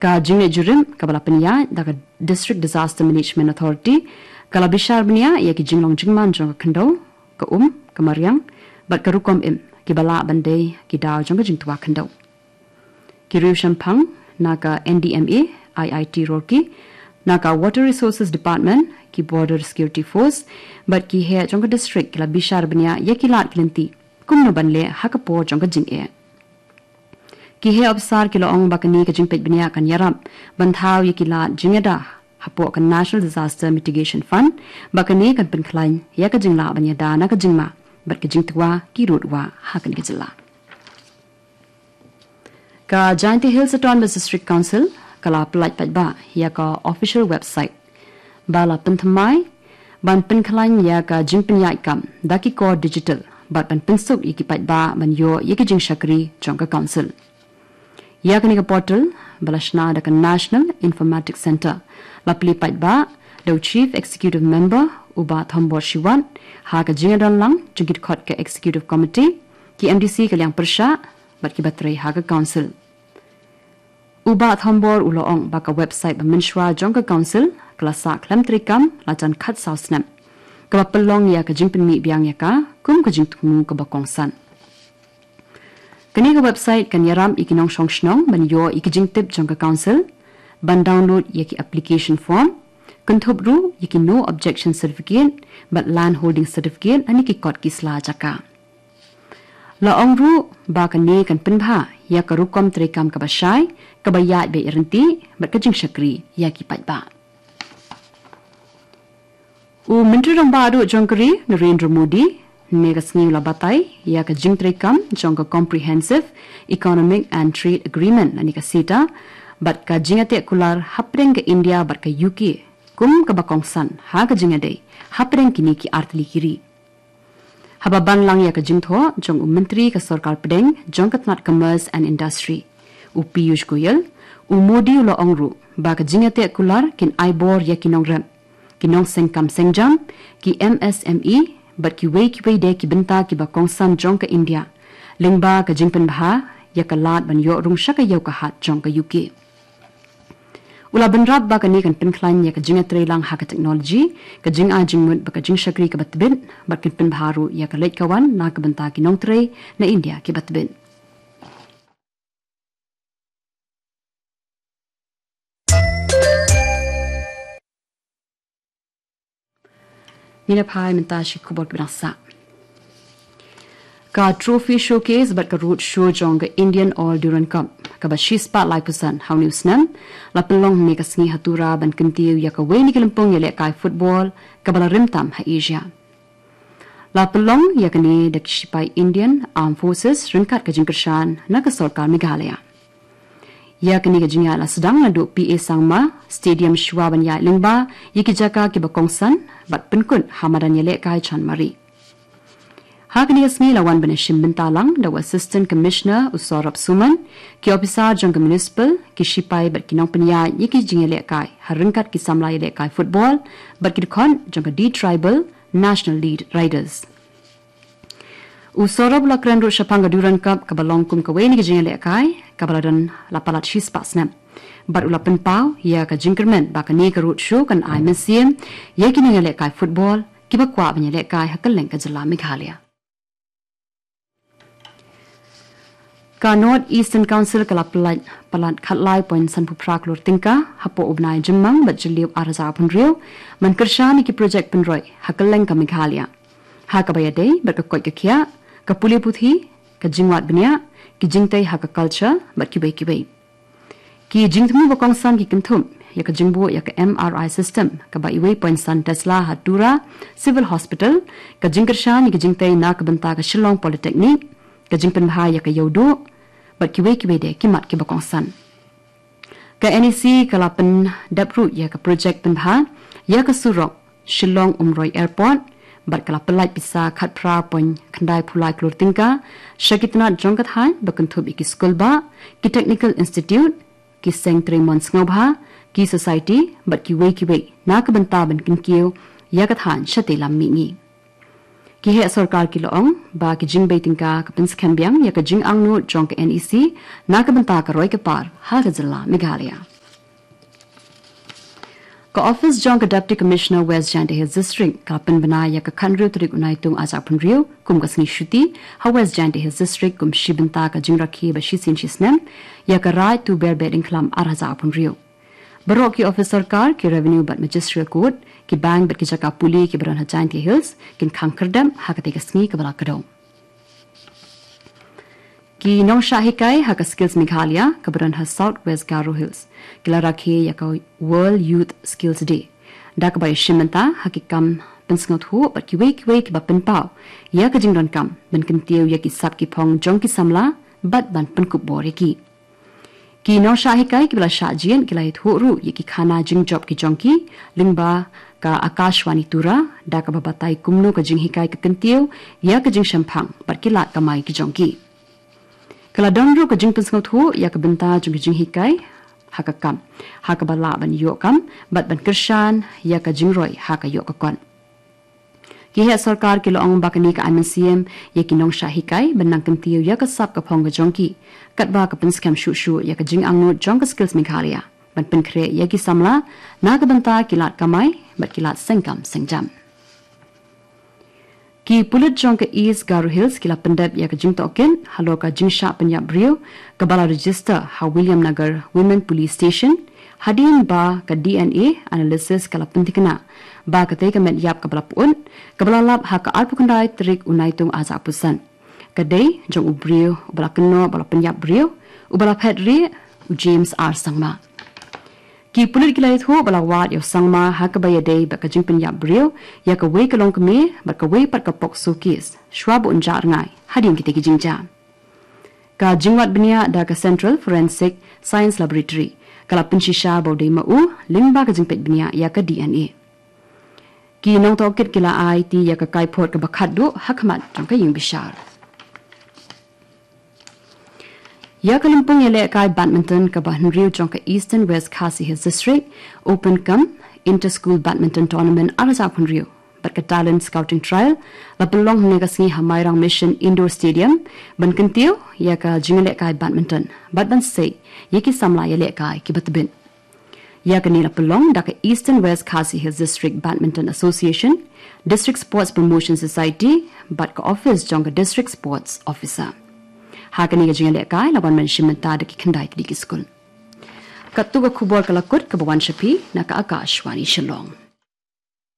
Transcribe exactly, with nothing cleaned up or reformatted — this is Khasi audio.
Ka jingleit jurip kaba la pynïaid da ka District Disaster Management Authority ka la bishar bniah ïa ki jinglong jingman jong ka khyndew, ka um, ka mariang bad ka rukom im kiba lah ban dei ki daw jong ka jingtwa khyndew. Ki riew shemphang na ka N D M A, I I T Roorkee, na ka Water Resources Department, ki Border Security Force bad ki heh jong ka district ki la bishar bniah ïa ki lad ki lynti kumno ban leh ha ka por jong ka jingeh. Ki heh ophisar ki la ong ba kane ka jingpeit bniah kan ïarap ban thaw ïa ki lad jingïada hapoh ka National Disaster Mitigation Fund, ba kane kan pynkhlaiñ ïa ka jinglah ban ïada na ka jingma bad ka jingtwa ki rud wah ha kane ka jylla. Ka Jaintia Hills Autonomous District Council ka la pyllait paidbah ïa ka official website ba la pynthymmai ban pynkhlaiñ ïa ka jingpynïaid kam da ki kor digital bad ban pynsuk ïa ki paidbah ban ïoh ïa ki jingshakri jong ka council. Ïa kane ka portal ba la shna da ka National Informatics Centre la plie paidbah da u Chief Executive Member u Bah Thombor Shiwat ha ka jingïadon lang jong ki dkhot ka Executive Committee, ki M D C ka liang pyrshah bad kiba trei ha ka council. U Bah Thombor u la ong ba ka website ba mynshuwa jong ka council ka la sah khlem treikam la jan khatsaw snem, kaba pynlong ïa ka jingpynmih biang ïa ka kum ka jingthmu kaba kongsan. Kane ka website kan ïarap ïa ki nongshong shnong ban ïoh ïa ki jingtip jong ka council, ban download ïa ki application form, kynthup ruh ïa ki no objection certificate bad land holding certificate lane ki kot ki sla jaka. La ong ruh ba kane kan pynbha ïa ka rukom treikam kaba shai, kaba ïaid beit ryntih bad ka jingshakri ïa ki paidbah. U Myntri Rangbah Duh jong ka ri Narendra Modi mynne ka sngi u la batai ïa ka jingtreikam jong ka Comprehensive Economic and Trade Agreement lane ka CETA bad ka jingïateh kular hapdeng ka India bad ka U K kum kaba kongsan ha ka jingïadei hapdeng kine ki artylli ki ri. Haba ban lang ïa ka jingthoh jong u Myntri ka Sorkar Pdeng jong ka tnat Commerce and Industry, u Piyush Goyal, u Modi u la ong ruh ba ka jingïateh kular kin ai bor ïa ki nongrep, ki nongseng kam seng jam, ki M S M E bad kiwei kiwei de ki bynta kiba kongsan jong ka India lyngba ka jingpynbha ïa ka lad ban ïoh rung sha ka ïew ka hat jong ka U K. U la bynrap ba kane kan pynkhlaiñ ïa ka jingïatreilang ha ka technology, ka jingai jingmut bad ka jingshakri kaba tbit bad kan pynbha ruh ïa ka leit ka wan na ka bynta ki nongtrei na India kiba tbit. Ngin ïa phai mynta sha ki khubor kiba dang sah. Ka Trophy Showcase bad ka Road Show jong ka Indian All Durand Cup kaba shispah laiphew san ha une u snem la pynlong mynne ka sngi ha Tura ban kyntiew ïa kawei na ki lympung ïalehkai football kaba la rim tam ha Asia. La pynlong ïa kane da ki shipai Indian Armed Forces ryngkat ka jingkyrshan na ka sorkar Meghalaya. Ïa kane ka jingïaid la sdang naduh P A Sangma Stadium shuwa ban ïaid lyngba ïa ki jaka kiba kongsan bad pynkut ha madan ïalehkai Chanmari. Ha kane ka sngi la wan ban ïashim bynta lang da u Assistant Commissioner u Saurabh Suman, ki ophisar jong ka municipal, ki shipai bad ki nongpynïaid ïa ki jingïalehkai ha ryngkat ki samla ïalehkai football bad ki dkhot jong ka D Tribal National Lead Riders. U Saurabh u la kren ruh shaphang ka Durand Cup kaba long kum kawei na ki jingïalehkai kaba la don la palat shispah snem bad u la pynpaw ïa ka jingkyrmen ba kane ka road show kan ai mynsiem ïa ki nongïalehkai football kiba kwah ban ïalehkai ha kylleng ka jylla Meghalaya. Ka North Eastern Council ka la palat, palat khatlai point sanphew phra klur tyngka hapoh u bnai Jymmang bad Jylliew ar hajar arphew hynriew ban kyrshan ïa ki projek pynroi ha kylleng ka Meghalaya, ha kaba ïadei bad ka koit ka khiah, ka pule puthi, ka jingwad bniah, ki jingtei ha ka culture bad kiwei kiwei. Ki jingthmu ba kongsan ki kynthup ïa ka jingbuh ïa ka M R I system kaba uwei point san Tesla ha Tura Civil Hospital, ka jingkyrshan ïa ka jingtei na ka bynta ka Shillong Polytechnic, ka jingpynbha ïa ka ïewduh bad kiwei kiwei de ki mat kiba kongsan. Ka N E C ka la pyndep ruh ïa ka projek pynbha ïa ka surok Shillong Umroi Airport bad ka la pyllait pisa khatphra point khyndai phew lai klur tyngka sha ki tnat jong ka thaiñ ba kynthup ïa ki skulbah, ki technical institute, ki seng trei mon sngewbha, ki society bad kiwei kiwei na ka bynta ban kynkiew ïa ka thaiñ shatei lam mihngi. Ki heh sorkar ki la ong ba ki jingbei tyngka ka pynskhem biang ïa ka jingangnud jong ka N E C na ka bynta ka roi ka par ha ka jylla Meghalaya. Ka office jong ka Deputy Commissioner West Jaintia Hills District ka la pynbna ïa ka khathynriew tarik u Naitung arhajar arphew hynriew kum ka sngi shuti ha West Jaintia Hills District kum shi bynta ka jingrakhe ba shisien shisnem ïa ka Raid to Berbet Ingkhlam arhajar arphew hynriew. Baroh ki office sorkar, ki Revenue bad Magisterial Court, ki bank bad ki jaka pule kiba don ha Jaintia Hills kin khang khyrdep ha katei ka sngi kaba la kdew. Ki nongshah hikai ha ka Skills Meghalaya kaba don ha South West Garo Hills ki la rakhe ïa ka World Youth Skills Day da kaba ïashim bynta ha ki kam pynsngewthuh bad kiwei kiwei kiba pynpaw ïa ka jingdonkam ban kyntiew ïa ki sap ki phong jong ki samla bad ban pynkup bor ïa ki. Ki nongshah hikai kiba la shah jied ki la ïathuh ruh ïa ki khana jingjop ki jong ki lyngba ka Akashvani Tura da kaba batai kumno ka jinghikai ka kyntiew ïa ka jingshemphang bad ki lad kamai ki jong ki. Ka la don ruh ka jingpynsngewthuh ïa ka bynta jong ka jinghikai ha ka kam, ha kaba lah ban ïoh kam bad ban kyrshan ïa ka jingroi ha ka ïoh ka kot. Ki heh sorkar ki la ong ba kane ka ai mynsiem ïa ki nongshah hikai ban nang kyntiew ïa ka sap ka phong ka jong ki, katba ka pynskhem shuh shuh ïa ka jingangnud jong ka Skills Meghalaya ban pynkhreh ïa ki samla na ka bynta ki lad kamai bad ki lad sengkam sengjam. Ki pulit jong ka East Garo Hills ki la pyndep ïa ka jingtohkit halor ka jingshah pynïap briew kaba la register ha Williamnagar Women Police Station, hadien ba ka D N A analysis ka la pynthikna ba katei ka met ïap kaba la pyut, kaba la lap ha ka arphew khyndai tarik u Naitung arhajar arphew san, ka dei jong u briew uba la kynnoh ba la pynïap briew, uba la phet rieh, u James R Sangma. Ki pulit ki la ïathuh ba la wad ïa u Sangma ha kaba ïadei bad ka jingpynïap briew ïa kawei ka longkmie bad kawei pat ka POCSO case shwa ba un jah rngai hadien kitei ki jingjia. Ka jingwad bniah da ka Central Forensic Science Laboratory ka la pynshisha ba u dei ma u lyngba ka jingpeit bniah ïa ka D N A. Ki nongtohkit ki la aiti ïa ka kaiphod kaba khatduh ha khmat jong ka ïingbishar. Ïa ka lympung ïalehkai badminton kaba hynriew jong ka Eastern West Khasi Hills District Open cum Inter School Badminton Tournament arhajar arphew hynriew bad ka Talent Scouting Trial la pynlong hynne ka sngi ha Mairang Mission Indoor Stadium ban kyntiew ïa ka jingïalehkai badminton bad ban sei ïa ki samla ïalehkai kiba tbit. Ïa kane la pynlong da ka Eastern West Khasi Hills District Badminton Association, District Sports Promotion Society bad ka office jong ka District Sports Officer. Ha kane ka jingïalehkai la wan ban shim bynta da ki khyndai tylli ki skul. Katto ka khubor ka la kut kaba wan sha phi na ka Akashvani Shillong.